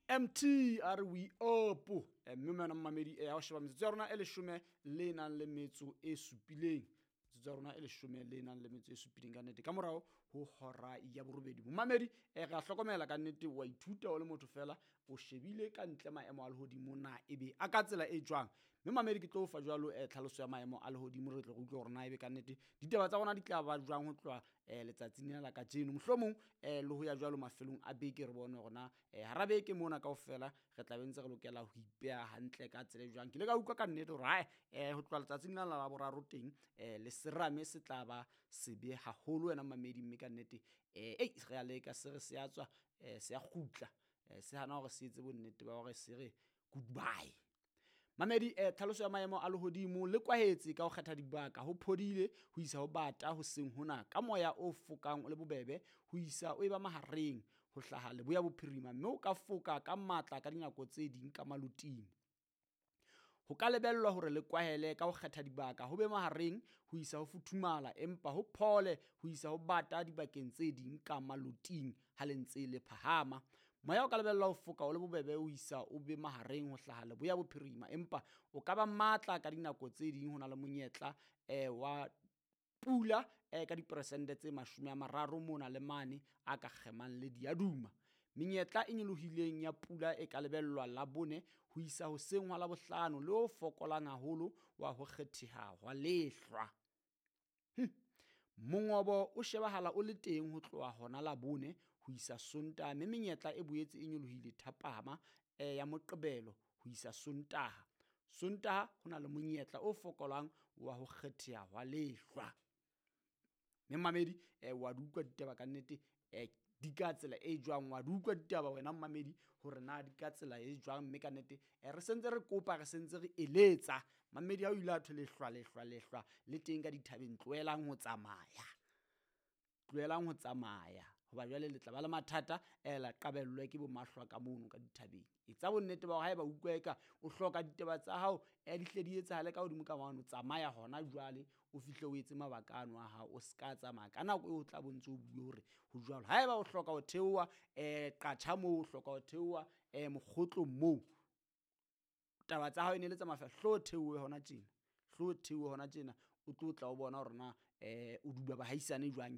Mt a re we up. Mme wena mmamedi, ha o sheba metsotso ya rona e leshome le nang le metso e supileng, metsotso ya rona e leshome le nang le metso e supileng ka nnete ka morao ho hora ya borobedi. Momamedi, re a hlokomela ka nnete, wa ithuta o le motho fela o shebile ka ntle maemo a lehodimo na ebe a ka tsela e jwang. Mme mamedi, ke tlo o fa jwalo tlhaloso ya maemo a lehodimo, re tle re utlwe hore na ebe ka nnete ditaba tsa rona di tla ba jwang ho tloha letsatsing lena la kajeno, mohlomong le ho ya jwalo mafelong a beke, re bone hore na hara beke mona kaofela re tla be ntse re lokela ho ipeha hantle ka tsela e jwang. Ke ile ka utlwa ka nnete hore hae ho tloha letsatsing lena la Laboraro teng le serame se tla ba sebe haholo wena mamedi, mme ka nnete ei re a leka se re se a tswa, se a kgutla, se hana hore se etse bonnete ba hore se re goodbye. Mamedi, tlhaloso ya maemo a lehodimo le kwahetse ka ho kgetha dibaka, ho phodile ho isa ho bata hoseng hona ka moya o fokang o le bobebe ho isa o eba mahareng ho hlaha leboya bophirima, mme o ka foka ka matla ka dinako tse ding ka maloting. Ho ka lebellwa hore le kwahele ka ho kgetha dibaka ho be mahareng ho isa ho futhumala, empa ho phole ho isa ho bata dibakeng tse ding ka maloting ha le ntse le phahama. Moya o ka lebellwa ho foka o le bobebe ho isa o be mahareng ho hlaha leboya bophirima, empa o ka ba matla ka dinako tse ding. Ho na le monyetla wa pula ka diperesente tse 30 mona le mane a ka kgemang le diaduma. Menyetla e nyolohileng ya pula e ka lebellwa Labone ho isa hoseng ha Labohlano le o fokolang haholo wa ho kgetheha hwa lehlwa. Mongobo o shebahala o le teng ho tloha hona Labone ho isa Sontaha, mme menyetla e boetse e nyolohile thapama ya Moqebelo ho isa Sontaha. Sontaha ho na le monyetla o fokolang wa ho kgetheha hwa lehlwa. Mme mamedi, wa di utlwa ditaba ka nnete, di ka tsela e jwang, wa di utlwa ditaba wena mmamedi hore na di ka tsela e jwang, mme ka nnete re sentse re kopa, re sentse re eletsa mamedi. Ha o ile a thwe lehlwa lehlwa lehlwa le teng ka dithabeng, tlohelang ho tsamaya, tlohelang ho tsamaya hoba jwale le tla ba le mathata, la qabellwe ke bo mahlwa ka mono ka dithabeng. Etsa bonnete ba hore haeba utlwa eka o hloka ditaba tsa hao di hle di etsahale ka hodimo ka mane, tsamaya hona jwale o fihle o etse mabaka ano a hao, o ska tsamaya ka nako eo o tla bo ntso o bue hore ho jwalo. Haeba o hloka ho theoha qatjha moo, o hloka ho theoha mokgotlong moo, taba tsa hao e ne le tsa mafeela, hlo theohe hona tjena, hlo theohe hona tjena, o tlo tla o bona hore na o duba bahaisane jwang.